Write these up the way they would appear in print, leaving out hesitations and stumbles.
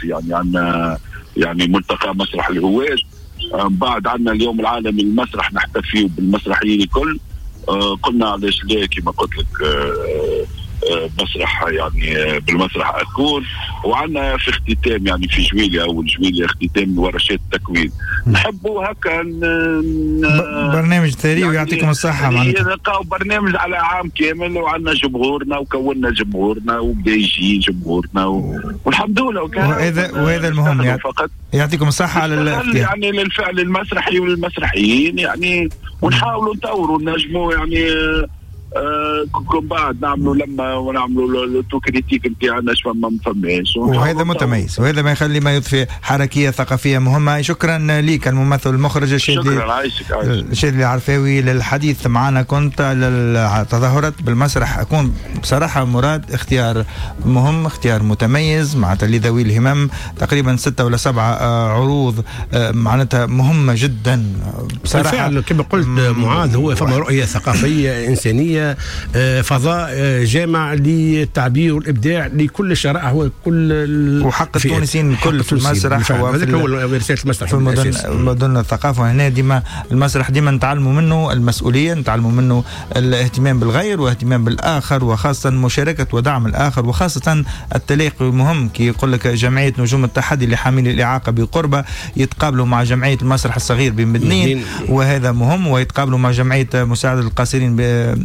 الثقافي، يعني عندنا يعني ملتقى مسرح الهواة. من بعد عندنا اليوم العالمي للمسرح، نحتفي بالمسرحيين الكل. قلنا علاش لا كما قلت لك مسرح يعني بالمسرح اكون. وعندنا في اختتام يعني في جويليا، اول جويليا اختتام ورشات التكوين. نحبوا هكا برنامج ثري يعني ويعطيكم الصحة. معناتها نلقاو برنامج على عام كامل، وعندنا جمهورنا وكونا جمهورنا وبدا يجي جمهورنا والحمد لله. وهذا المهم يعني فقط يعطيكم الصحة على الاختيار يعني للفعل المسرحي والمسرحيين يعني، ونحاولوا نطوروا نجموا يعني كل بعد نعملوا لما ونعملوا l'autocritique نتاعنا اش فما ما فماش، وهذا متميز وهذا ما يخلي ما يضفي حركية ثقافية مهمة. شكرا لك الممثل المخرج الشاذلي العرفاوي للحديث معنا. كنت تظاهرت بالمسرح اكون بصراحة مراد اختيار مهم، اختيار متميز معناتها لذوي الهمم، تقريبا 6 ولا 7 عروض معناتها مهمة جدا بصراحة. بالفعل كما قلت معاذ، هو فما رؤية ثقافية انسانيه، فضاء جامع للتعبير والابداع لكل الشرائح وكل وحق التونسيين الكل في المسرح. وهذاك هو رسالة المسرح في مدن الثقافة. هنا ديما المسرح ديما نتعلموا منه المسؤولية، نتعلموا منه الاهتمام بالغير واهتمام بالاخر، وخاصة مشاركة ودعم الاخر، وخاصة التلاقي مهم. كي يقول لك جمعية نجوم التحدي لحاملي الاعاقة بقربه يتقابلوا مع جمعية المسرح الصغير بمدنين، وهذا مهم، ويتقابلوا مع جمعية مساعدة القاصرين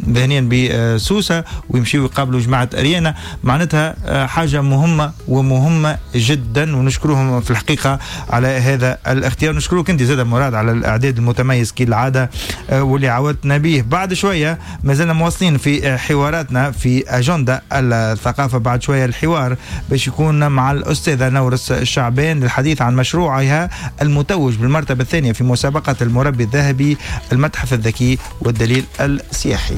ذهنيا بسوسه، ويمشيوا يقابلوا جماعة اريانا. معناتها حاجة مهمة ومهمة جدا، ونشكرهم في الحقيقة على هذا الاختيار. نشكرك انت زاد مراد على الاعداد المتميز كالعادة واللي عودتنا به. بعد شوية ما زلنا مواصلين في حواراتنا في اجندة الثقافة. بعد شوية الحوار باش يكون مع الاستاذة نورس الشعبان للحديث عن مشروعها المتوج بالمرتبة الثانية في مسابقة المربي الذهبي، المتحف الذكي والدليل السياحي.